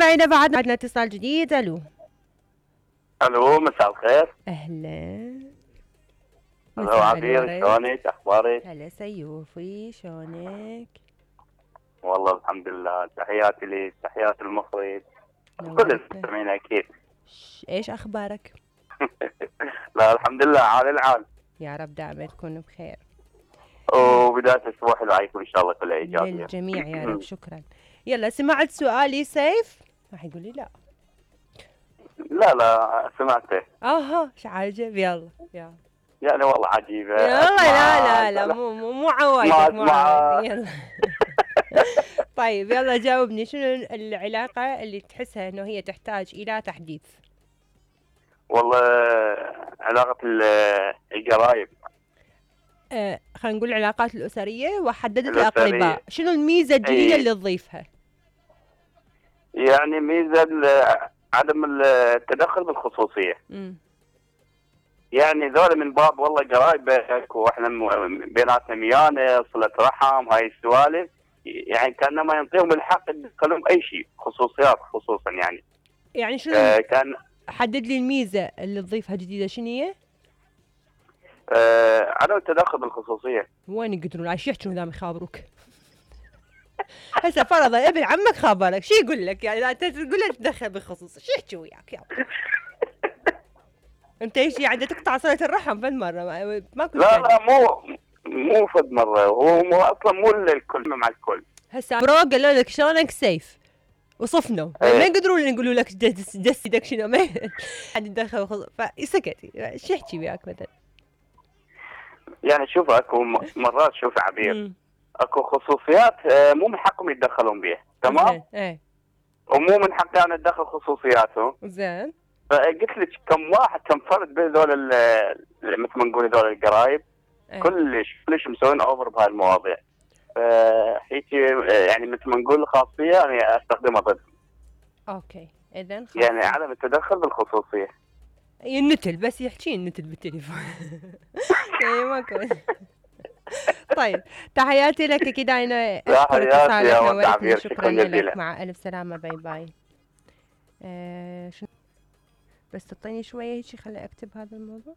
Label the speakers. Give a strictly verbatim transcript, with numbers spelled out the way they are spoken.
Speaker 1: مستمعينا بعد عندنا اتصال جديد. الو
Speaker 2: الو مساء الخير.
Speaker 1: اهلا.
Speaker 2: الو عبير، شلونك؟ اخبارك؟
Speaker 1: هلا سيوفي، شلونك؟
Speaker 2: والله الحمد لله. تحياتي لك، تحياتي المخرج، كل المستمعين اكيد.
Speaker 1: ايش اخبارك؟
Speaker 2: لا الحمد لله، عال العال.
Speaker 1: يا رب دائما تكون بخير.
Speaker 2: وبداية اسبوع حلو عليكم ان شاء الله، كله ايجابي
Speaker 1: للجميع يا رب. شكرا. يلا سمعت سؤالي سيف؟ راح يقول لي لا.
Speaker 2: لا لا سمعته.
Speaker 1: اها ايش عجب. يلا يلا
Speaker 2: يعني والله عجيبة.
Speaker 1: يلا. لا لا لا مو مو مو عوايدك، مو عوايدك. يلا. طيب يلا جاوبني، شنو العلاقة اللي تحسها انه هي تحتاج الى تحديث؟
Speaker 2: والله علاقة القرايب.
Speaker 1: آه خلينا نقول العلاقات الأسرية، وحددت الأقرباء. شنو الميزة الجديدة اللي تضيفها؟
Speaker 2: يعني ميزة عدم التدخل بالخصوصية.
Speaker 1: امم
Speaker 2: يعني ذولا من باب والله قرايبك واحنا بيناتنا ميانه، صلة رحم، هاي السوالف، يعني كانما ينطيهم الحق يدخلون اي شيء، خصوصيات خصوصا يعني.
Speaker 1: يعني شنو
Speaker 2: آه كان
Speaker 1: حدد لي الميزة اللي تضيفها جديدة، شنو هي؟
Speaker 2: آه عدم التدخل بالخصوصية.
Speaker 1: وين يقدرون عايش يحجون دام يخابروك؟ هسه فرضا ابن عمك خابرك، شو يقول لك؟ يعني انت تقول له تدخل بالخصوصية، شو يحكي وياك يابا؟ انت ايش يعني تقطع صلة الرحم فد مرة؟ ماكو.
Speaker 2: لا لا مو مو فد مرة، هو مو اصلا مو الكل مع الكل.
Speaker 1: هسه برو قالوا لك شلونك سيف وصفنوا، ايه. ما يقدرون يقولوا لك دس دس يدك شنو، ما حد يدخل خصوص، فسكت. شو يحكي وياك مثلا؟
Speaker 2: يعني شوف اكو مرات، شوف عبير، مم. اكو خصوصيات مو من حقهم يتدخلون بيها، تمام؟
Speaker 1: ايه.
Speaker 2: ومو من حقي انا اتدخل خصوصياتهم.
Speaker 1: زين.
Speaker 2: فقلت لك كم واحد كم فرد بهذول مثل ما نقول هذول القرايب، ايه. كلش كلش مسوين اوفر بهاي المواضيع. فهيك يعني مثل ما نقول خاصيه يعني استخدمها ضدهم.
Speaker 1: اوكي اذا
Speaker 2: يعني عدم التدخل بالخصوصيه.
Speaker 1: النتل بس يحكي النتل بالتليفون. يعني ماكو. طيب تحياتي لك اكيد. انا اشكر اتصالك، نورتني. شكرا لك، مع الف سلامه. باي باي. آه شنو بس تعطيني شويه هيك خلي اكتب هذا الموضوع.